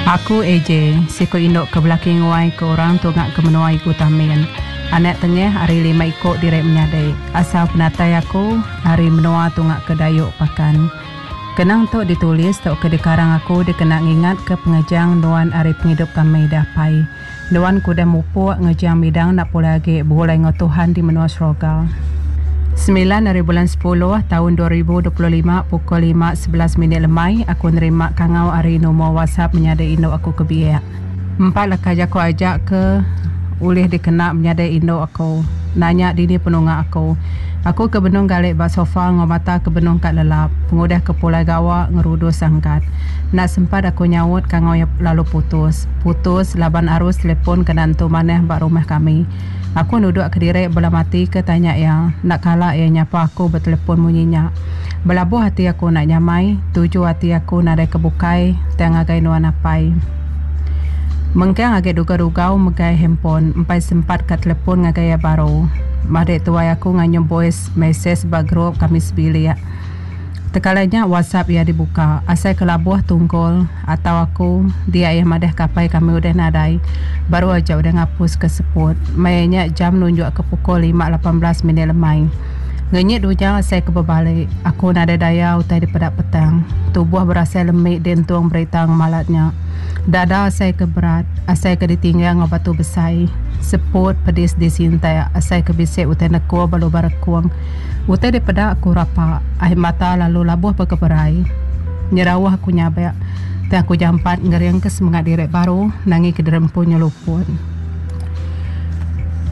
Aku AJ, siku indu ke belaki nguai ke orang tunga ke menua Igu Tamin. Anak tengah ari lima iku diri menyadi. Asal penatai aku ari menua tunga ke Dayu Pakan. Kenang tu ditulis tauka dikarang aku dikena ngingatka pengejang nuan ari pengidup kami deh apai. Nuan ke udah mupuk ngejang midang enda pulai agi begulai enggau Tuhan di menua Seroga. Semilan ari bulan sepuluh taun 2025 pukul 5:11 minit lemai aku nerima kangau ari numur WhatsApp menyadi indu aku ke biak. Empat leka jaku aja ke ulih dikena menyadi indu aku nanya dini penunga aku. Aku ke benung gali ba sofa enggau mata ke benung ka lelap pengudah ke pulai gawa ngerudus angkat. Enda sempat aku nyaut kangau iya lalu putus. Putus laban arus telepon kena entu manah ba rumah kami. Aku nuduk kediri bela mati ke tanya iya. Enda kala iya nyapa aku betelepon munyi nya. Belabuh ati aku enda nyamai, tuju ati aku nadai ke bukai tang ngagai nuan apai. Mengkang agi dugau-dugau megai handphone empai sempat ka telepon ngagai iya baru. Madik tuai aku nganyum voice message ba group kami sebilik. Tekala nya WhatsApp iya dibuka. Asai ke labuh tungkul atau aku dia iya madah ke apai kami udah nadai. Baru aja udah ngapus ke seput. Maya nya jam nunjuk ke pukul 5:18 minit lemai. Ngenyit dunya asai ke bebali. Aku nadai daya utai dipeda petang. Tubuh berasai lemi dientung berita ngemalat nya. Dada asai ke berat, asai ke ditinggang enggau batu besai. Seput pedis disintak asai ke bisi utai nekul ba lubang rekung. Utai dipeda aku rapa, ai mata lalu labuh bekeberai. Nyerauh aku nyabak, tang aku jampat ngeringka semengat diri baru nangika diri empu nyeluput.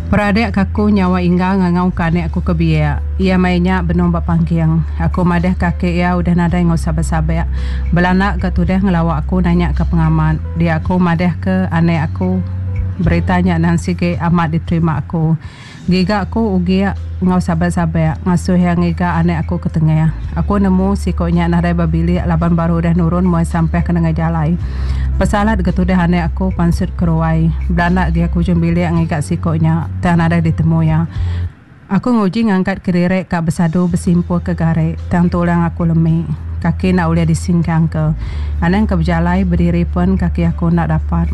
Peradik ka aku nyawa inggar ngangauka anak aku ke biak. Iya maya nya benung ba pangking. Aku madahka aki iya udah nadai enggau sabak-sabak. Belanda ga tudah ngelawa aku nanyaka pengamat. Dia aku madahka anak aku berita nya nang sigi amat diterima aku. Giga aku ugik enggau sabak-sabak ngasuh iya ngiga anak aku ke tengah. Aku nemu siko nya nadai ba bilik laban baru udah nurun muai sampah ke nengah jalai. Pesalat ga tudah anak aku pansut ke ruai. Belanda agi aku ujung bilik ngiga siko nya tang nadai ditemu iya. Aku nguji ngangkat kediri ka besadu besimpul ke gari tang tulang aku lemi. Kaki enda ulih disingkang ke. Anang ke bejalai bediri pen kaki aku enda dapat.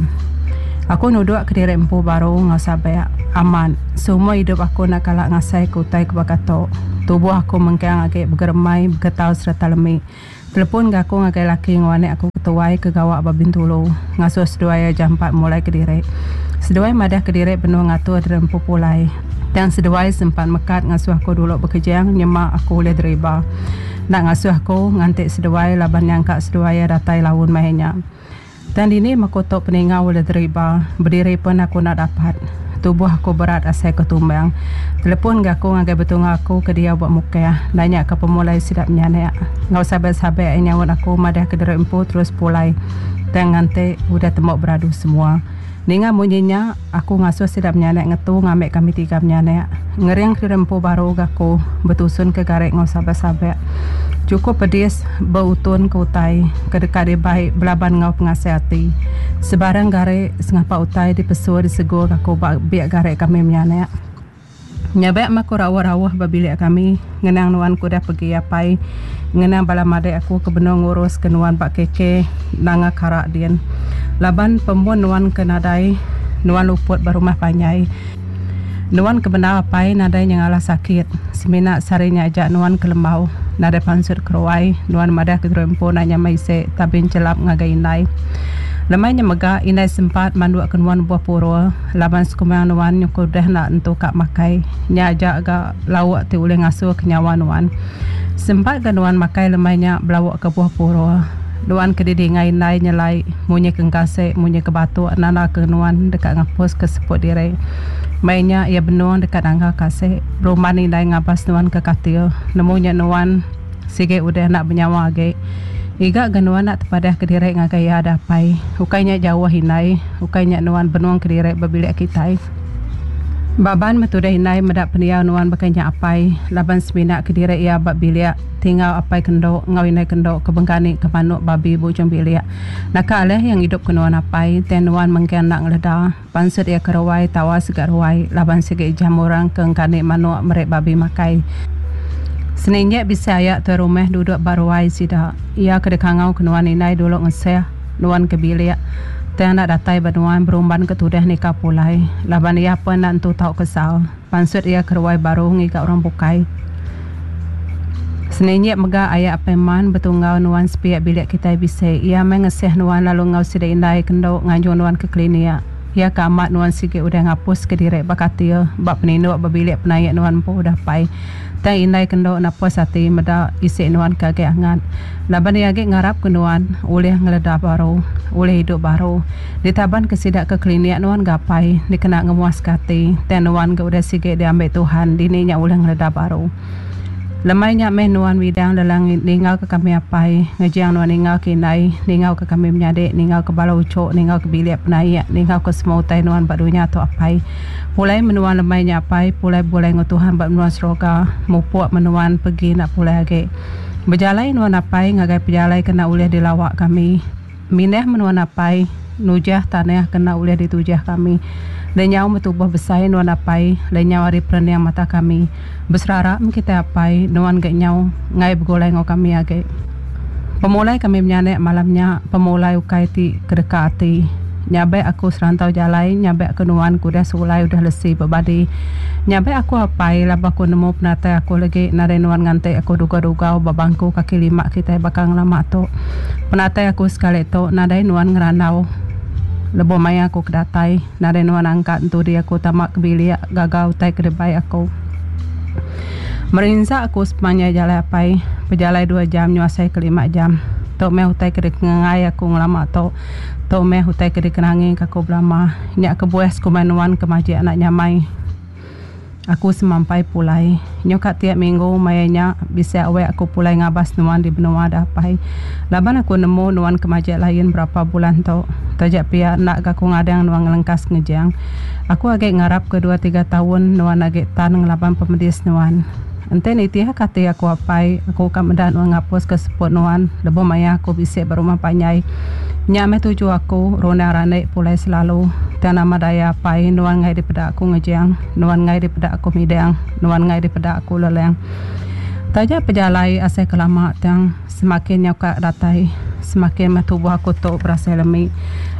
Aku nuduk kediri empu baru enggau sabak. Amat, seumur idup aku enda kala ngasai ke utai ke baka tu. Tubuh aku mengkang agi begeremai, begetar sereta lemi. Telepon ga aku ngagai laki enggau anak aku ke tuai ke gawa ba Bintulu, ngasuh seduai iya jampat mulai kediri. Seduai madah kediri benung ngatur diri empu pulai. Tang seduai sempat mekat ngasuh aku dulu bekejang nyema aku ulih deriba. Enda ngasuh aku nganti seduai laban nyangka seduai iya datai laun maya nya. Tang dini meku tu peninga ulih deriba, bediri pen aku enda dapat. Tubuh aku berat asai ke tumbang. Telepon ga aku ngagai betunga aku ke diau ba Mukah, nanya ke pemulai sida menyanak. Enggau sabek-sabek iya nyaut aku madah ke diri empu terus pulai tang nganti udah tembu beradu semua. Ninga munyi nya, aku ngasuh sida menyanak ngetu ngambi kami tiga menyanak. Ngering kediri empu baru ga aku betusun ke gari enggau sabak-sabak. Chukup pedis beutun ke utai ke deka dibai belaban enggau pengasih ati. Sebarang gari sengapa utai dipesu disegur aku ba biak gari kami menyanak. Nyabak meh aku rauh-rauh ba bilik kami ngenang nuan ke udah pegi apai ngenang bala madik aku ke benung ngurus ke nuan ba KK Nanga Kara din. Laban pemun nuan ke nadai nuan luput ba rumah panjai. Nuan ke bendar apai nadai nyengalah sakit semina sehari nya aja nuan ke lembau nadai pansut keruai nuan madah ke diri empu enda nyamai isi tabin chelap ngagai indai. Lemai nya mega indai sempat manduk ke nuan buah purul. Laban sekumbang nuan nyukur deh enda entu ka makai. Nya aja ga lauk ti ulih ngasuh ke nyawa nuan. Sempat ga nuan makai lemai nya belauk ke buah purul. Nuan ke didinga indai nyelai munyi ke engkasek munyi ke batuk nanda ke nuan deka ngapus ke seput diri. Maya nya iya benung deka nangga kasek. Berumban indai ngabas nuan ke katil. Nemu nya nuan. Sigi udah enda benyawa agi. Iga ga nuan enda tepadah kediri ngagai iya da apai. Ukai nya jauh indai, ukai nya nuan benung kediri ba bilik kitai. Baban meh tudah indai meda pendiau nuan baka nya apai, laban semina kediri iya ba bilik tinggal apai kendo enggau indai kendo ke bengkani ke manuk babi ba ujung bilik. Naka alih iya ngidup ke nuan apai, tang nuan mengkang enda ngeleda. Pansut iya ke ruai tawa sega ruai laban sigi jam orang ke engkani manuk meri babi makai. Seninjik bisi aya tuai rumah duduk ba ruai sida. Iya ke dikangau ke nuan indai dulu ngeseh. Nuan ke bilik tang enda datai ba nuan berumban ke tudah nikal pulai laban iya pen enda entu tau kesal. Pansut iya ke ruai baru ngiga orang bukai. Seninjik mega aya Apai Man betunggau nuan sepiak bilik kitai bisi. Iya meh ngesih nuan lalu enggau sida indai ke endo nganjung nuan ke klinik. Iya ke amat nuan sigi udah ngapus ke diri ba katil ba peninduk ba bilik penaik nuan empu udah pai. Tang indai ke endo napus ati meda isi nuan ke agi angat. Laban iya agi ngarap ke nuan ulih ngeleda baru, ulih idup baru. Ditaban ke sida ke klinik nuan ga apai dikena ngemuas ke ati. Tang nuan ga udah sigi diambi Tuhan dini nya ulih ngeleda baru. Lemai nya meh nuan midang lelang ninggal ke kami apai, ngejang nuan ninggal ke indai, ninggal ke kami menyadi, ninggal ke bala uchu, ninggal ke bilik penaik, ninggal ke semua utai nuan ba dunya tu apai. Pulai menua lemai nya apai, pulai begulai enggau Tuhan ba menua seroga, mupuk menuan pegi enda pulai agi. Bejalai nuan apai ngagai pejalai ke enda ulih dilawa kami. Mindah menua napai, nujah tanah ke enda ulih ditujah kami. Lenyau metubuh besai nuan apai, lenyau ari perening mata kami. Beserara meh kitai apai, nuan ga nyau enggai begulai enggau kami agi. Pemulai kami menyanak malam nya, pemulai ukai ti kedeka ati. Nyabak aku serantau jalai, nyabak ke nuan ke udah sulai udah lesi bebadi. Nyabak aku apai, laban aku nemu penatai aku legi nadai nuan nganti aku dugau-dugau ba bangku kaki lima kitai baka ngelama tu. Penatai aku sekali tu nadai nuan ngerandau. Lebuh maya aku ke datai, nadai nuan angkat entudi aku tama ke bilik gaga utai ke dibai aku. Merinsa aku sepemanjai jalai apai, pejalai dua jam nyu asai ke lima jam. Tu meh utai ke dikengai aku ngelama tu. Tu meh utai ke dikenangi ke aku belama. Nya kebuah sekumbai nuan ke majik anak nyamai. Aku semampai pulai. Nyu ka tiap minggu maya nya bisi awek aku pulai ngabas nuan di benua da apai. Laban aku nemu nuan ke majik lain berapa bulan tu. Taja pia enda ga aku ngadang nuan ngelengkas ngejang. Aku agi ngarap ke dua tiga taun nuan agi tan ngelaban pemedis nuan. Enti nitih ka ati aku apai, aku ka meda nuan ngapus ka seput nuan lebuh maya aku bisi ba rumah panjai. Nya meh tuju aku, runding randi pulai selalu. Tang nama daya apai, nuan enggai dipeda aku ngejang, nuan enggai dipeda aku midang, nuan enggai dipeda aku lelang. Taja pejalai asai ke lama tang semakin nyau ka datai, semakin meh tubuh aku tu berasai lemi.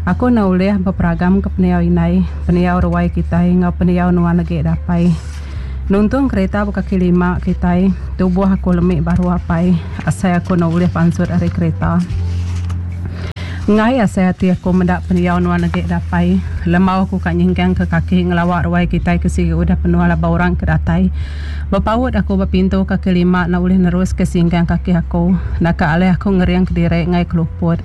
Aku enda ulih beperagam ke pendiau indai, pendiau ruai kitai enggau pendiau nuan agi da apai. Nuntung kerita bekaki lima kitai, tubuh aku lemi baru apai, asai aku enda ulih pansut ari kerita. Enggai asai ati aku meda pendiau nuan agi da apai. Lembau aku ka nyingkang ke kaki ngelawa ruai kitai ke sigi udah penuh laban orang ke datai. Bepaut aku ba pintu kaki lima enda ulih nerus ke singkang kaki aku. Naka alai aku ngering kediri enggai keluput.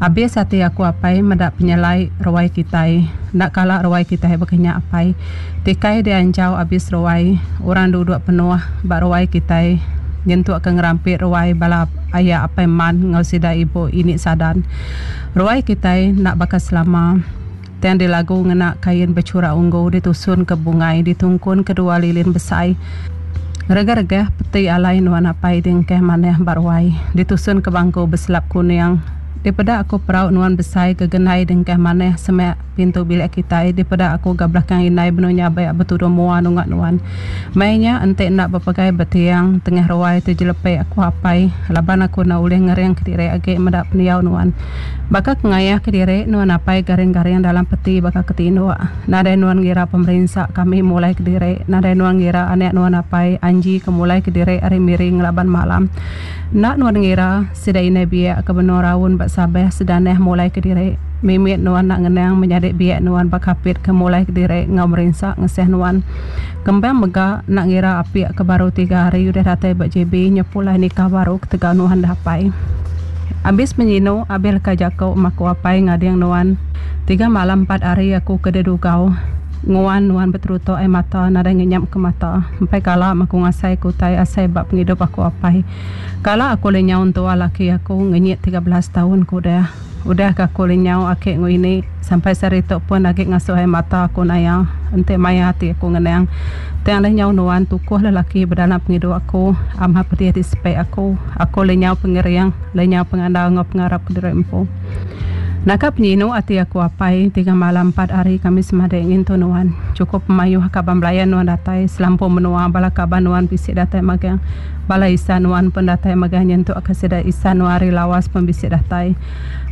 Abis ati aku apai meda penyelai ruai kitai. Enda kala ruai kitai baka nya apai. Tikai dianjau abis ruai, orang duduk penuh ba ruai kitai nyentuk ke ngerampit ruai bala aya apai man enggau sida ibu ini sadan. Ruai kitai enda baka selama. Tang dilagu ngena kain bechura unggu ditusun ke bungai ditungkun ke dua lilin besai. Regah-regah peti alai nuan apai dingkeh manah ba ruai ditusun ke bangku beselap kuning. Dipeda aku perau nuan besai gegendai dingkeh manah semak pintu bilik kitai dipeda aku ga belakang indai benung nyabak betudung mua nunga nuan. Mei nya enti enda bepegai ba tiang tengah ruai ti jelepek aku apai laban aku enda ulih ngering kediri agi meda pendiau nuan. Baka ke ngayah kediri nuan apai garing-garing dalam peti baka ke tinduk. Nadai nuan ngira pemerinsa kami mulai kediri. Nadai nuan ngira anak nuan apai Anji ke mulai kediri ari Miri ngelaban malam. Enda nuan ngira sida indai biak ke benung raun ba Sabah sedanah mulai kediri. Mimit nuan enda ngenang menyadi biak nuan ba Kapit ke mulai kediri enggau merinsa ngesah nuan. Kembang mega enda ngira apik ke baru tiga hari udah datai ba JB nya pulai nikah baru ketegal nuan dah apai. Abis menyinu abis leka jaku maku apai ngading nuan. Tiga malam empat hari aku ke dedugau nguan nuan beterutu ai mata nadai ngenyap ke mata. Empai kala maku ngasai ke utai asai ba pengidup aku apai. Kala aku lenyau entua laki aku ngenyit 13 taun ke udah. Udah ga aku lenyau aki enggau ini sampai sehari tu pun agi ngasuh ai mata aku naya enti maya ati aku ngenang. Tang lenyau nuan tukuh lelaki ba dalam pengidup aku amat pedih disepek aku. Aku lenyau pengering, lenyau pengandal enggau pengarap kediri empu. Naka penyinu ati aku apai tiga malam empat hari kami semadi ngintu nuan. Chukup pemayuh kaban belayan nuan datai selampur menua bala kaban nuan bisi datai magang. Bala isan nuan pun datai magang nyentuk ka sida isan nuan ari Lawas pun bisi datai.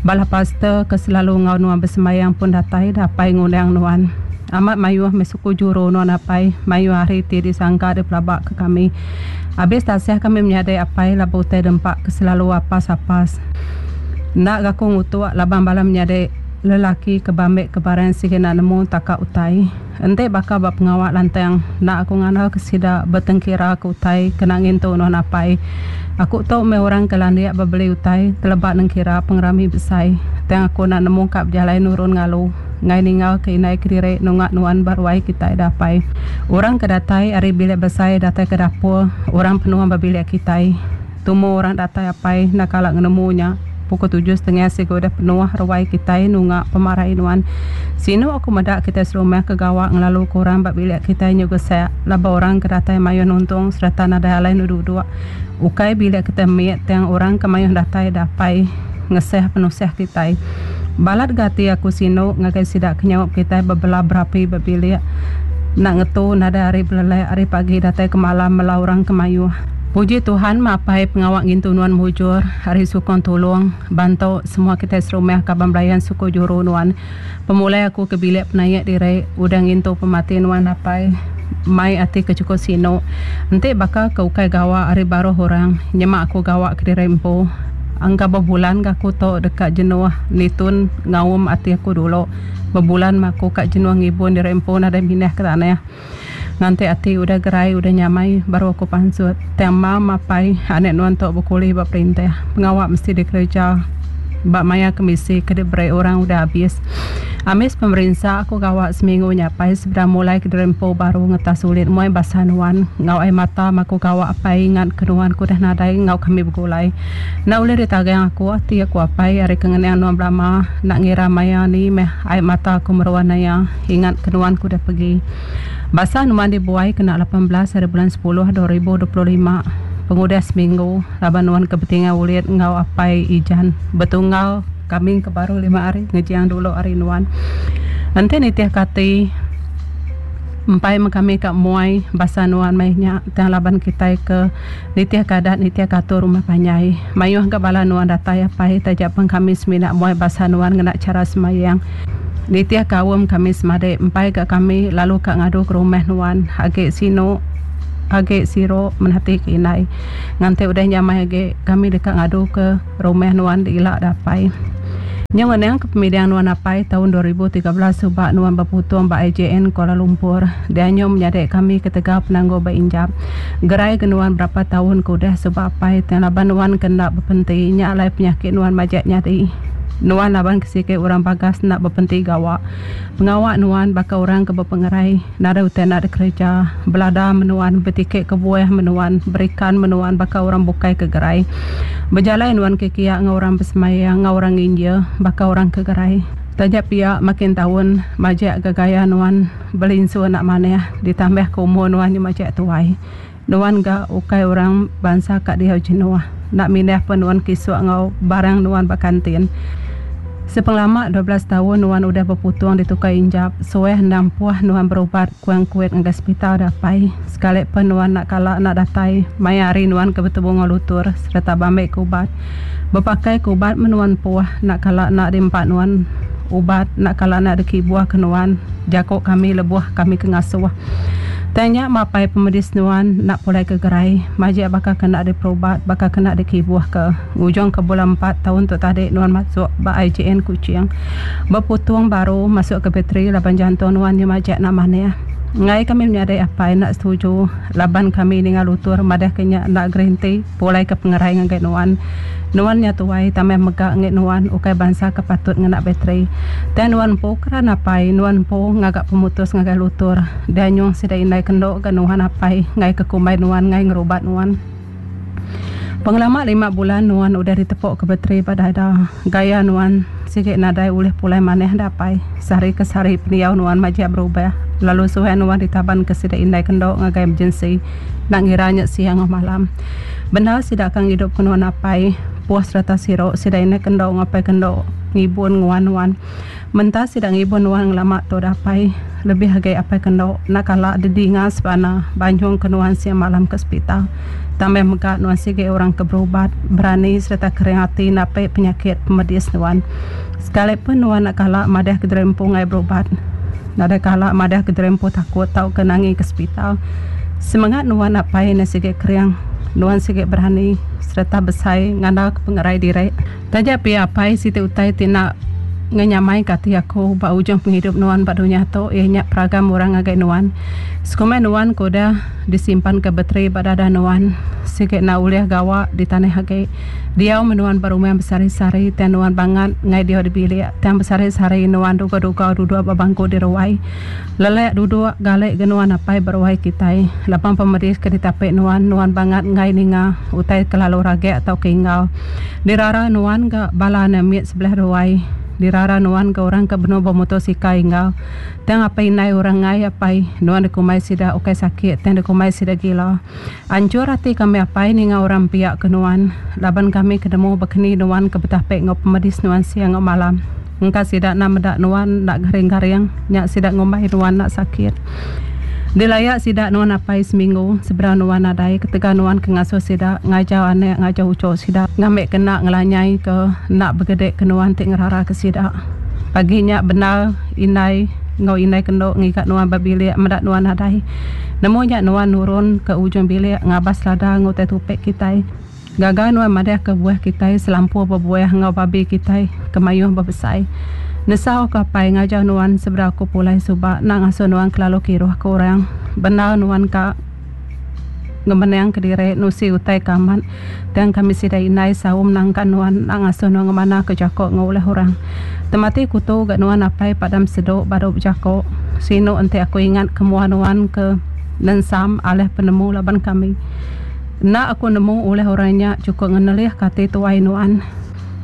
Bala pastor ke selalu enggau nuan besembayang pun datai dapai ngundang nuan. Amat mayuh meh suku juru nuan apai, mayuh hari ti disangka dipelaba ke kami. Abis tasih kami menyadi apai laban utai dempa ke selalu apas-apas. Enda ga aku ngutuk laban bala menyadi lelaki ke bambi ke barang sigi enda nemu taka utai. Enti baka ba pengawa lantang enda aku ngandal ke sida betengkira ke utai kena ngintu nuan apai. Aku tu meh orang ke landik bebeli utai teleba nengkira pengerami besai. Tang aku enda nemu ka bejalai nurun ngalu enggai ninggal ke indai kediri nunga nuan ba ruai kitai da apai. Orang ke datai ari bilik besai datai ke dapur orang penuh ba bilik kitai. Tumu orang datai apai enda kala ngenemu nya. Pukul tujuh setengah siga udah penuh ruai kitai nunga pemarai nuan. Sinu aku meda kitai serumah ke gawa ngelalu ke orang ba bilik kitai nyu gesak laban orang ke datai mayuh nuntung sereta nadai alai duduk. Ukai bilik kitai mit tang orang ke mayuh datai da apai ngesah penusah kitai. Balat ga ati aku sinu ngagai sida ke nyaup kitai bebela berapi ba bilik enda ngetu nadai hari belelak ari pagi datai ke malam mela orang ke mayuh. Puji Tuhan meh apai pengawa ngintu nuan mujur ari sukung tulung bantu semua kitai serumah kaban belayan suku juru nuan. Pemulai aku ke bilik penaik diri udah ngintu pemati nuan apai mai ati ke chukup sinu. Enti baka ke ukai gawa ari baruh orang nyema aku gawa kediri empu engka bebulan ga aku tu deka jenuh nitun ngaum ati aku dulu bebulan meh aku ka jenuh ngibun diri empu nadai mindah ke tanah. Nganti ati udah gerai udah nyamai baru aku pansut. Tang mam apai anak nuan tu bekuli ba perintah. Pengawa mesti dikereja ba maya kemisi ke diberi orang udah abis. Ambis pemerinsa aku gawa seminggu nyapai sebedau mulai kediri empu baru ngetas ulit muai basa nuan enggau ai mata maku gawa apai ingat ke nuan ke udah nadai enggau kami begulai. Enda ulih ditagang aku ati aku apai ari ke ngenang nuan belama enda ngira maya ni meh ai mata aku meruan aya. Ingat ke nuan ke udah pegi. Basa nuan dibuai kena 18 hari bulan sepuluh 2025 pengudah seminggu laban nuan ke betinggal ulit enggau apai Ijan betunggal kambing ke baru lima hari ngejang dulu ari nuan. Enti nitih ke ati empai meh kami ka muai basa nuan meh nya tang laban kitai ke nitih ke adat nitih ke atur rumah panjai. Mayuh ga bala nuan datai apai taja pen kami semina muai basa nuan ngena chara sembahyang. Nitih ka aum kami semadi empai ga kami lalu ka ngadu ke rumah nuan agi sinu agi siru menati ke indai. Nganti udah nyamai agi kami deka ngadu ke rumah nuan ila da apai. Nyau ngenang ke pemidang nuan apai taun 2013 suba nuan beputung ba IJN Kuala Lumpur dianyu menyadi kami ketegal penanggul ba injap. Gerai ke nuan berapa taun ke udah suba apai tang laban nuan ke enda bepenti nya alai penyakit nuan majak nyadi. Nuan laban ke sigi orang bagas enda bepenti gawa. Pengawa nuan baka orang ke bepengerai nadai utai enda dikereja. Belada menuan, betiki ke buah menuan, berikan menuan baka orang bukai ke gerai. Bejalai nuan ke kia enggau orang besemaya enggau orang nginjil baka orang ke gerai. Taja pia makin taun majak ga gaya nuan belinsur enda manah ditambah ke umur nuan nya majak tuai. Nuan ga ukai orang bansa ka diau jenuh. Enda mindah pun nuan kisuk enggau barang nuan ba kantin. Sepengelama 12 taun nuan udah beputung ditukai injap, suah endang puh nuan berubat kuang kuit ngagai sepital da apai. Sekali pen nuan enda kala enda datai maya hari nuan ke betebu enggau lutur sereta beambi ke ubat. Bepakai ke ubat meh nuan puh enda kala enda diempa nuan ubat enda kala enda dikibuh ke nuan jaku kami lebuh kami ke ngasuh. Tang nya mapai pemedis nuan enda pulai ke gerai, majik baka ke enda diperubat, baka ke enda dikibuhka. Ngujungka bulan empat taun tu tadi nuan masuk ba IJN Kuching. Beputung baru masuk ke bateri laban jantung nuan nya majak enda manah. Enggai kami menyadi apai enda setuju laban kami ninga lutur madahka nya enda gerenti pulai ke pengerai ngagai nuan. Nuan nya tuai tambah mega enggi nuan ukai bansa ke patut ngena bateri. Tang nuan empu keran apai nuan empu ngaga pemutus ngagai lutur. Dianyung sida indai kendo ga nuan apai enggai ke kumbai nuan enggai ngerubat nuan. Pengelama lima bulan nuan udah ditepok ke bateri ba dada. Gaya nuan sigi nadai ulih pulai manah da apai. Sehari ke sehari pendiau nuan majak berubah lalu suah nuan ditaban ke sida indai kendo ngagai emergency. Enda ngira nya siang enggau malam. Bendar sida ka ngidup ke nuan apai, puh sereta siru sida indai kendo enggau apai kendo ngibun nguan nuan. Menta sida ngibun nuan ngelama tu dah apai. Lebih agi apai kendo enda kala didinga sebana banjung ke nuan siang malam ke sepital. Tambah mega nuan sigi orang ke berubat, berani sereta kering ati napi penyakit pemedis nuan. Sekali pun nuan enda kala madah ke diri empu enggai berubat. Nadai kala madah ke diri empu takut tauka nangi ke sepital. Semengat nuan apai enda sigi kering. Nuan sigi berani sereta besai ngandalka pengerai diri. Taja pia apai siti utai ti enda ngenyamaika ati aku ba ujung pengidup nuan ba dunya tu iya nya peragam orang ngagai nuan. Sekumbai nuan ke udah disimpanka bateri ba dada nuan sigi enda ulih gawa di tanah agi. Diau meh nuan ba rumah besehari-sehari tang nuan bangat enggai diau di bilik tang besehari-sehari nuan duga-duga duduk ba bangku di ruai. Lelak duduk gali ga nuan apai ba ruai kitai. Laban pemedis ke ditapi nuan, nuan bangat enggai ninga utai kelalu ragak tauka ingau. Dirara nuan ga bala anak mit sebelah ruai. Dirara nuan ga orang ke benung bemotosikal ingau. Tang apai indai orang enggai apai nuan dikumbai sida ukai sakit tang dikumbai sida gila. Anchur ati kami apai ninga orang empiak ke nuan laban kami ke nemu bekeni nuan ke betapi enggau pemedis nuan siang enggau malam. Engka sida enda meda nuan enda garing-garing, nya sida ngumbai nuan enda sakit. Dilaya sida nuan apai seminggu sebedau nuan nadai ketegal nuan ke ngasuh sida ngajar anak ngajar uchu sida ngambika enda ngelanyai ke enda begedika nuan ti ngeraraka sida. Pagi nya bendar indai enggau indai kendo ngiga nuan ba bilik meda nuan nadai. Nemu nya nuan nurun ke ujung bilik ngabas lada enggau utai tupi kitai. Gaga nuan madahka buah kitai selampur bebuah enggau babi kitai ke mayuh bebesai. Nesau ke apai ngajar nuan sebedau aku pulai suba enda ngasuh nuan kelalu kiruh ke orang. Bendar nuan ka ngemenang kediri nusi utai ke amat tang kami sida indai saum nangkan nuan enda ngasuh nuan ngemana ke jako enggau ulih orang. Temati kutu ga nuan apai padam sedu baru bejako. Sinu enti aku ingat ke mua nuan ke nensam alih penemu laban kami. Enda aku nemu ulih orang nya chukup ngenelihka ati tuai nuan.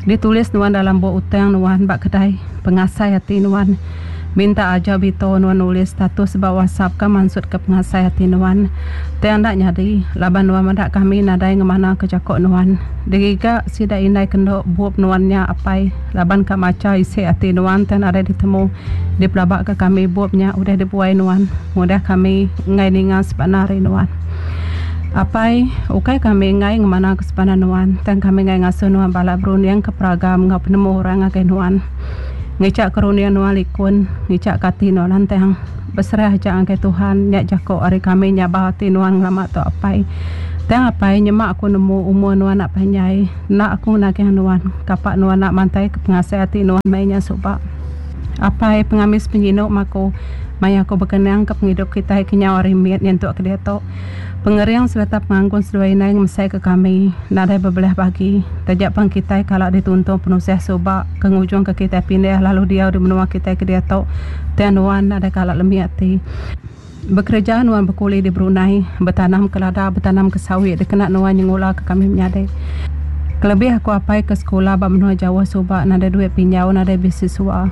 Ditulis nuan dalam bup utang nuan ba kedai pengasai ati nuan. Minta aja Bito nuan nulis status ba WhatsApp ka mansutka pengasai ati nuan. Tang enda nyadi laban nuan meda kami nadai ngemanaka jako nuan. Digiga sida indai kendo bup nuan nya apai laban ka macha isi ati nuan tang nadai ditemu. Dipelabaka kami bup nya udah dibuai nuan pengudah kami enggai ninga sebana ari nuan. Apai, ukai kami enggai ngemanaka sebana nuan, tang kami enggai ngasuh nuan balat berundingka peragam enggau penemu orang ngagai nuan. Ngichaka runding nuan likun, ngichaka ati nuan lantang. Beserah aja ngagai Tuhan, nya jaku ari kami nyabah ati nuan ngelama tu apai. Tang apai, nyema aku nemu umur nuan enda panjai, enda aku nagih nuan, kapa nuan enda mantaika pengasai ati nuan meh nya suba. Apai pengamis penyinu maku maya aku bekenang ke pengidup kitai kenyau ari mit nyentuk ke diatu. Pengering sereta pengangkun seduai indai ngemesai ke kami nadai bebelah bagi. Taja pan kitai kala dituntung penusah suba ke ngujung ke kitai pindah lalu diau di menua kitai ke diatu tang nuan nadai kala lemi ati. Bekereja nuan bekuli di Brunei, betanam ke lada, betanam ke sawit dikena nuan nyengula ke kami menyadi. Kelebih aku apai ke sekula ba menua jauh suba nadai duit pinjau nadai bisi sua.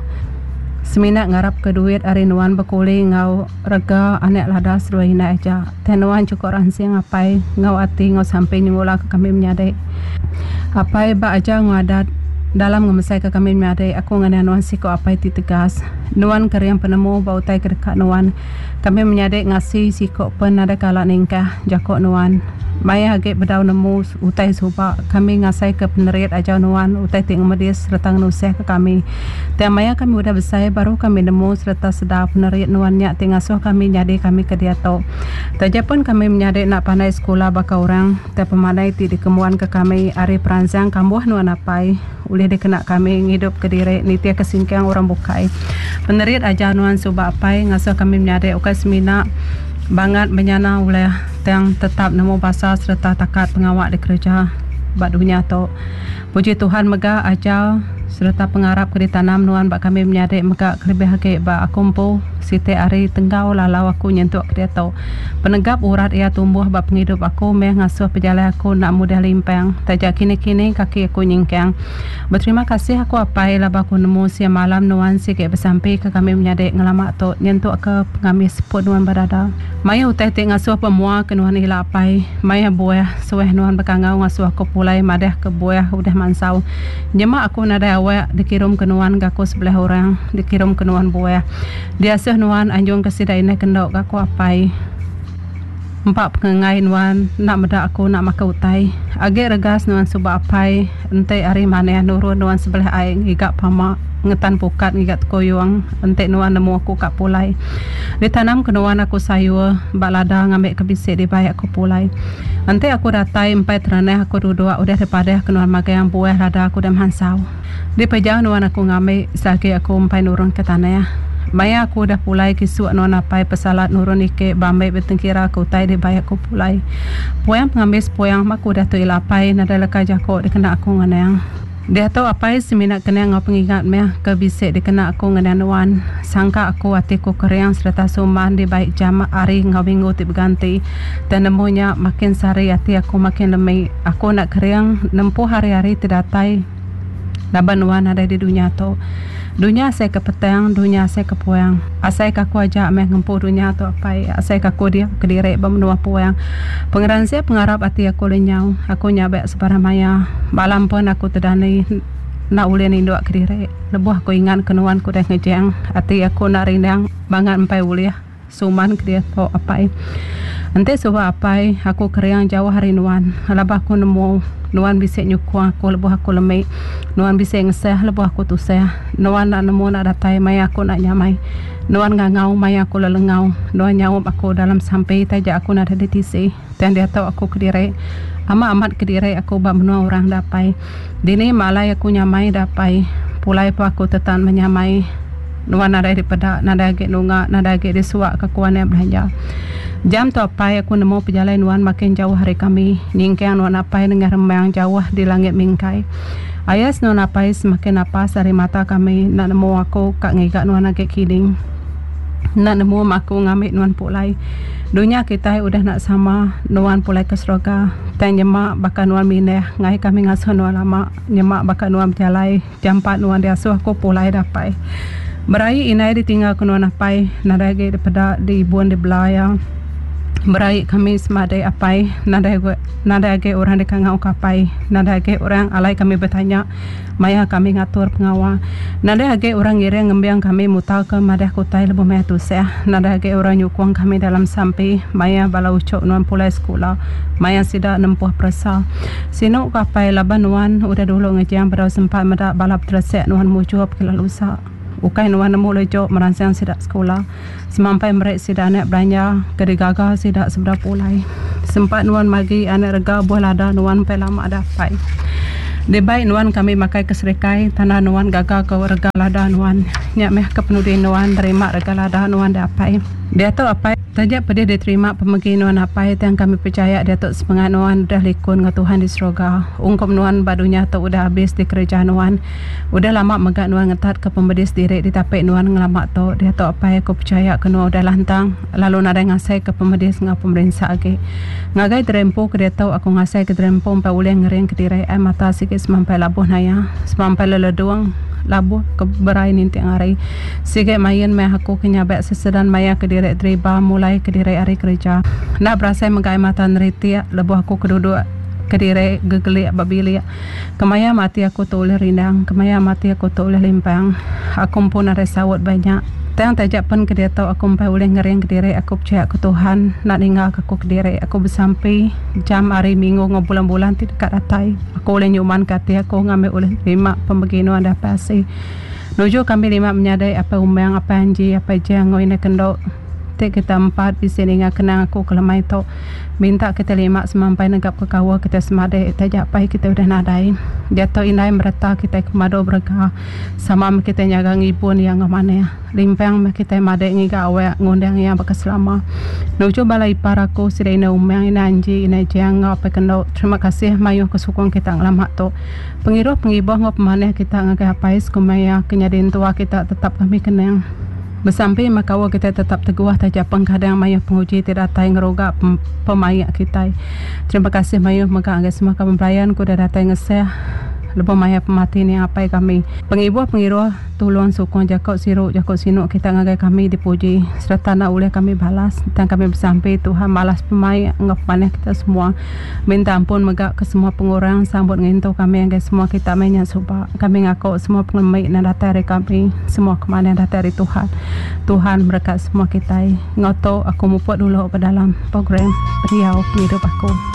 Semina ngarap ke duit ari nuan bekuli enggau rega anak lada seduai indai aja. Tang nuan chukup ransing apai enggau ati enggau sampi nyengula ke kami menyadi. Apai ba aja enggau adat dalam ngemesai ke kami menyadi aku ngenang nuan siku apai ti tegas. Nuan kering penemu ba utai ke deka nuan. Kami menyadi ngasi siku pen nadai kala ningkah jako nuan. Maya agi bedau nemu utai suba, kami ngasaika penerit ajar nuan utai ti ngemedis sereta ngenusahka kami. Tang maya kami udah besai baru kami nemu sereta sedar penerit nuan nya ti ngasuh kami nyadi kami ke diatu. Taja pen kami menyadi enda pandai sekula baka orang, tang pemandai ti dikembuanka kami ari peransang kambuh nuan apai. Ulih dikena kami ngidupka diri nitihka singkang orang bukai. Penerit ajar nuan suba apai ngasuh kami menyadi ukai semina bangat menyana ulih tang tetap nemu basa sereta takat pengawa dikereja ba dunya tu. Puji Tuhan mega ajar sereta pengarap ke ditanam nuan ba kami menyadi mega kelebih agi ba aku empu siti ari tenggau lalau aku nyentuk ke diatu. Penegap urat iya tumbuh ba pengidup aku meh ngasuh pejalai aku enda mudah limpang taja kini-kini kaki aku nyingkang. Beterima kasih aku apai laban aku nemu siang malam nuan sigi besampi ke kami menyadi ngelama tu nyentuk ke pengamis seput nuan ba dada. Mayuh utai ti ngasuh pemua ke nuan ila apai. Mayuh buah suah nuan bekangau ngasuh aku pulai madah ke buah udah mansau. Nyema aku nadai awak. awak dikirum ke nuan ga aku sebelah orang, dikirum ke nuan buah. Diasuh nuan anjung ke sida indai kendo ga aku apai. Empa pengengai nuan enda meda aku enda makai utai. Agi regas nuan suba apai enti hari manah nurun nuan sebelah ai ngiga pama ngetan pukat ngiga tekuyung enti nuan nemu aku ka pulai. Ditanam ke nuan aku sayur ba lada ngambi ke bisi dibai aku pulai. Enti aku datai empai teranah aku duduk udah dipadah ke nuan magang buah lada aku udah mansau. Dipejau nuan aku ngambi seagi aku empai nurun ke tanah. Maya aku udah pulai kisuk nuan apai pesalat nurun ike bambi betengkira ke utai dibai aku pulai. Puang pengambis puang ba aku udah tu ila apai nadai leka jako dikena aku ngenang. Diatu apai semina kenang enggau pengingat meh ke bisi dikena aku ngenang nuan. Sangka aku ati ku kering sereta suman dibai jam hari enggau minggu ti beganti. Tang nemu nya makin sehari ati aku makin lemi. Aku enda kering nempuh hari-hari ti datai laban nuan nadai di dunya tu. Dunya asai ke petang, dunya asai ke puang. Asai ke aku aja meh ngempu dunya tu apai. Asai ke aku diau kediri ba menua puang. Pengeransik pengarap ati aku lenyau. Aku nyabak sebarang maya. Malam pun aku tedani enda ulih ninduk kediri. Lebuh aku ingat ke nuan ke udah ngejang, ati aku enda rindang bangat empai ulih. Suman ke diatu apai. Enti suba apai, aku kering jauh ari nuan. Laban aku nemu, nuan bisi nyukung aku lebuh aku lemi. Nuan bisi ngesah lebuh aku tusah. Nuan enda nemu enda datai maya aku enda nyamai. Nuan ngangau maya aku lelengau. Nuan nyaup aku dalam sampi taja aku nadai ditisi. Tang diatu aku kediri. Amat amat kediri aku ba menua orang da apai. Dini ma alai aku nyamai da apai. Pulai pa aku tetan menyamai. Nuan nadai dipeda, nadai agi nunga, nadai agi disuak ka ku anak belanja. Jam tu apai aku nemu pejalai nuan makin jauh ari kami. Nyingkang nuan apai nengah remang jauh di langit mingkai. Ayas nuan apai semakin napas ari mata kami enda nemu aku ka ngiga nuan agi kini. Enda nemu ma aku ngambi nuan pulai. Dunya kitai udah enda sama, nuan pulai ke serega. Tang nyema baka nuan mindah ngai kami ngasuh nuan lama, nyema baka nuan bejalai jampat nuan diasuh aku pulai dapai. Beraie indai ditinggal ke nuan apai, nadai agi dipeda diibun dibela iya. Beraie kami semadi apai, nadai nadai agi orang dikangau ke apai, nadai agi orang alai kami betanya. Maya kami ngatur pengawa, nadai agi orang ngiring ngembing kami mutarka madah ke utai lebuh maya tusah. Nadai agi orang nyukung kami dalam sampi maya bala uchu nuan pulai sekula, maya sida nempuh peresa. Sinu ke apai laban nuan udah dulu ngejang bedau sempat meda bala beteresek nuan mujur pekila lusa. Ukai nuan nemu lejuk meransang sida sekula, semampai meri sida anak belanja ke digaga sida sebedau pulai. Sempat nuan magi anak rega buah lada nuan empai lama dapai. Dibai nuan kami makai ke serikai tanda nuan gaga ke rega lada nuan. Nya meh ke penudi nuan nerima rega lada nuan diapai. Diatu apai, taja pedih diterima pemegi nuan apai tang kami pechaya diatu semengat nuan udah likun enggau Tuhan di seroga. Ungkup nuan ba dunya tu udah abis dikereja nuan. Udah lama mega nuan ngetatka pemedis diri ditapi nuan ngelama tu. Diatu apai aku pechaya ke nuan udah lantang lalu nadai ngasaika pemedis enggau pemerinsa agi. Ngagai diri empu ke diatu aku ngasaika diri empu empai ulih ngeringka diri ai mata sigi semampai labuh naya, semampai leledung labuh ke berai ninting hari. Sigi main meh aku ke nyabak sesedan maya ke diri deriba mulai ke diri ari kereja. Enda berasai mega ai mata neritik lebuh aku ke duduk kediri gegelik ba bilik. Kemaya mati aku tu ulih rindang, kemaya mati aku tu ulih limpang. Aku empu nadai saut ba nya. Tang taja pen ke diatu aku empai ulih ngering kediri aku pechaya ke Tuhan enda ninggalka aku kediri. Aku besampi jam hari minggu enggau bulan-bulan ti deka datai aku ulih nyumanka ati aku ngambi ulih nerima pemegi nuan deh apai asi. Nuju kami lima menyadi Apai Umang, Apai Anji, Apai Jang enggau Indai Kendo ti kita empat bisi ninga kenang aku ke lemai tu. Minta kita lima semampai negap ke kaul kita semadi taja apai kita udah nadai. Diatu indai mereta kitai ke pemadu berega sama meh kitai nyaga ngibun iya enggau manah. Limpang meh kitai madi ngiga awak ngundang iya baka selama. Nuju bala ipar aku sida Indai Umang, Indai Anji, Indai Jang enggau Apai Kendo terima kasih mayuh ke sukung kita ngelama tu. Pengiruh pengibuh enggau pemanah kita ngagai apai sekumbai iya ke nyadi entua kita tetap kami kenang. Besampi meh kaul kitai tetap teguh taja peng kadang mayuh penguji ti datai ngeruga pemaik kitai. Terima kasih mayuh mega ngagai semua kaban belayan ke udah datai ngesah. lebuh maya pemati niang apai kami. Pengibuh pengiruh tulung sukung jaku siru jaku sinu kita ngagai kami dipuji sereta enda ulih kami balas tang kami besampi Tuhan malas pemaik enggau pemanah kita semua. Minta ampun mega ke semua pengurang sambut ngintu kami ngagai semua kita meh nya suba. Kami ngaku semua pengelemi enda datai ari kami semua kemanah datai ari Tuhan. Tuhan merekat semua kitai. Enggau tu aku mupuk dulu ba dalam program pendiau pengidup aku.